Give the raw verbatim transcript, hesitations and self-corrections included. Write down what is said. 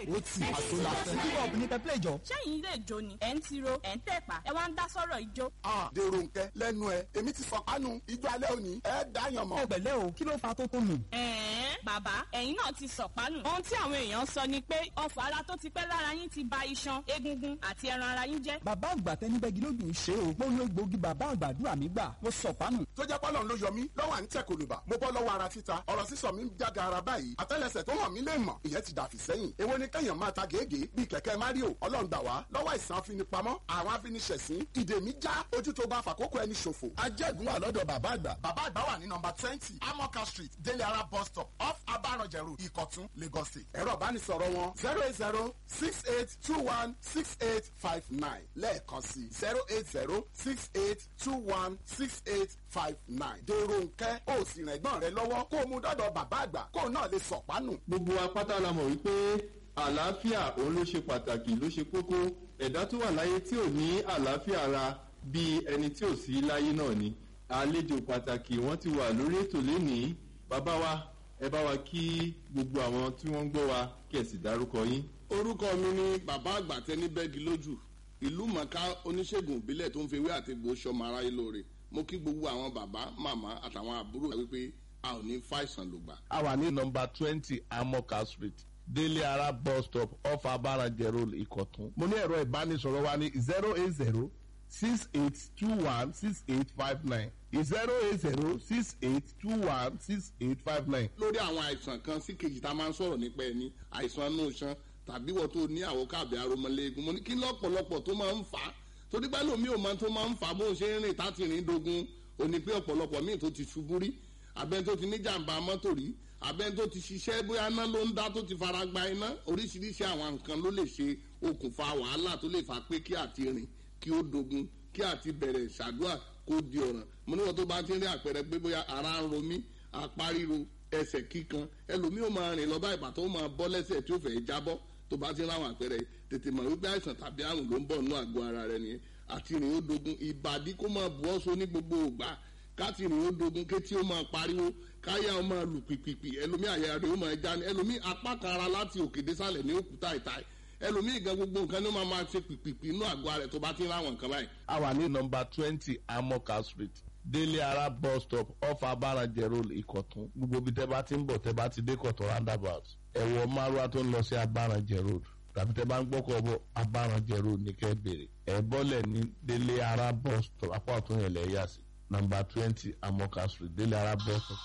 Ó ti àṣọ la fẹ́. Hip hop ní pẹ́pẹ́ ìjọ. Ṣẹ́yìn ilé ìjó ni ẹ̀ ń tiro, ẹ̀ ń tẹ̀pá, ẹ wá ń dá sọ̀rọ̀ ijó. Dèrò nkẹ́ lẹ́nu ẹ̀, èmi ti sọ kánú ijó alẹ́ òní ẹ̀ dáyàn mọ́. Ẹ pẹ̀lẹ́ o, kí ló fa tó tó nù? Ẹ̀ẹ́n, bàbá, ẹ̀yin náà ti sọ̀pánù. Ohun tí àwọn èèyàn sọ ni pé ọfọ̀ ara tó ti pẹ́ lára yín ti ba iṣan, egungun àti ẹran ara yín jẹ́. Bàbá àgbà tẹnibẹ́gi lójú ń ṣe o. Mo lo egbòogi bàbá àgbàdúrà mi gbà. Mo sọ̀pánù. Tó jẹ́ pọ́lọ́n ló yọ mí lọ́wọ́ à ń tẹ̀ kòlùbà, mo bọ́ lọ́wọ́ ara títa, ọ̀rọ̀ sísọ mi ń jága ara báyìí, àtẹ́lẹsẹ̀ tó hàn mí lè mọ̀, ìyẹn ti dàfí sẹ́yìn. Èwo ni kẹ́yàn máa ta gègé bíi kẹ̀kẹ́ Mario? Ọlọ́run gbà wá lọ́wọ́ àìsàn afinipamọ́, àwọn afiniṣẹ̀sín, ìdè mi já, ojú tó bá fàkókò ẹni ṣòfò. Ajẹ́gun wà lọ́dọ̀ bàbá àgbà. Bàbá àgbà wà ní nọmba twenty Amoka Street, Délé Ara bus stop, off Abaranjẹ Road, Ìkọ̀tún, Lagos State. Ẹ̀rọ ìbánisọ̀rọ̀ wọn zero eight zero six eight two one six eight five nine, lẹ́ẹ̀kan sí zero eight zero six eight two one six eight five nine. Dèrò nkẹ́, ó sì rìn ẹ̀gbọ́n rẹ lọ́wọ́ kó o mú dọ́dọ̀ bàbá àgbà kó o náà lè sọ̀pánù. Gbogbo apáta la mọ̀ wípé àlàáfíà òun ló ṣe pàtàkì, ló ṣe kókó. Ẹ̀dá tó wà láyé tí ò ní àlàáfíà ara, bíi ẹni tí ò sí láyé náà ni. Àlejò pàtàkì wọ́n ti wà lórí ètò lénìí. Bàbá wa, ẹ bá wa kí gbogbo àwọn tí wọ́n ń gbọ́ wa, kí ẹ sì dárúkọ yín. Orúkọ mi ni bàbá àgbà tẹni bẹ́ẹ̀gì lójú, ìlú mọ̀ká, oníṣègùn ìbílẹ̀ tó ń fi ewé àti egbò ṣọmọ aráyé lóore. Mo kí gbogbo àwọn bàbá, màmá àtàwọn àbúrò wípé a ò ní fàìsàn lògbà. A wà ní nọmba twenty Amoka Street, Délé Ara bus stop, off Abaranjẹ Road, Ìkọ̀tún. Mo ní ẹ̀rọ ìbánisọ̀rọ̀ wa ní zero eight zero six eight two one six eight five nine, zero eight zero six eight two one six eight five nine. Lórí àwọn àìsàn kan sí kejì tá a máa ń sọ̀rọ̀ nípa ẹni àìsàn inú iṣan tàbí wọ́n tó ní àwòká àbí aromọléegun, mo ní kí lọ́pọ̀lọpọ̀ tó máa ń fà á, torí pé lómi ò máa tó máa ń fà á, bó ń ṣe ń rìn táti rìn dogun, ò ní pé ọ̀pọ̀lọpọ̀ míì tó ti ṣubú rí, abẹ́ni tó ti níjàmbá mọ́tò rí, abẹ́ni tó ti ṣiṣẹ́, bóyá iná ló ń dá tó ti fara gba iná, oríṣiríṣi àwọn nǹkan ló lè ṣe okùnfà wàhálà tó lè fà pé kí àti rìn kí ó dogun, kí àti bẹ̀rẹ̀ ṣàdúrà kó di ọ̀ràn. Mo ní wọn tó bá ti ń rí àpẹẹrẹ pé bóyá ara ń ro mí, apá ríro, ẹsẹ̀ kíkan, ẹlòmíì ó máa rìn lọ bá ìbàtọ́ ó máa bọ́ lẹ́sẹ̀ tí ó fẹ́ jábọ́, tó bá ti ń ráwọn àpẹẹrẹ, tètè mọ̀ wípé àìsàn tàbí àrùn ló ń bọ̀ nínú àgọ́ ara rẹ nìyẹn. Àti rìn ó dogun, ìbàdí kó máa bu ọ́ so ní gbogbo ògbà, káti rìn ó dogun, kétí ó máa pariwo, káyà ó máa lù pìpìpì, ẹlòmíì àyà rẹ̀ ó máa já ni, ẹlòmíì apá kan ara láti òkè désàlẹ̀ ní òkúta ìta, ẹlòmíì gan gbogbo nǹkan ló máa máa ṣe pìpìpì inú àgọ́ ara rẹ̀, tó bá ti ń ráwọn nǹkan báyìí. A wà ní nọmba twenty Amoka Street, Délé Ara bus stop, off Abaranjẹ Road, Ìkọ̀tún. Gbogbo ibi tẹ́ bá ti ń bọ̀, tẹ́ bá ti dé Kọ̀tún roundabout, ẹ wọ márúwá tó ń lọ sí Abaranjẹ Road, tàbí tẹ́ bá ń gbọ́kọ̀ bọ̀, Abaranjẹ Road ní kẹ́ bèrè. Ẹ bọ́lẹ̀ ní Délé Ara bus stop, apá ọ̀tún yẹn lẹ̀ yà sí nọmba twenty Amoka Street, Délé Ara bus stop.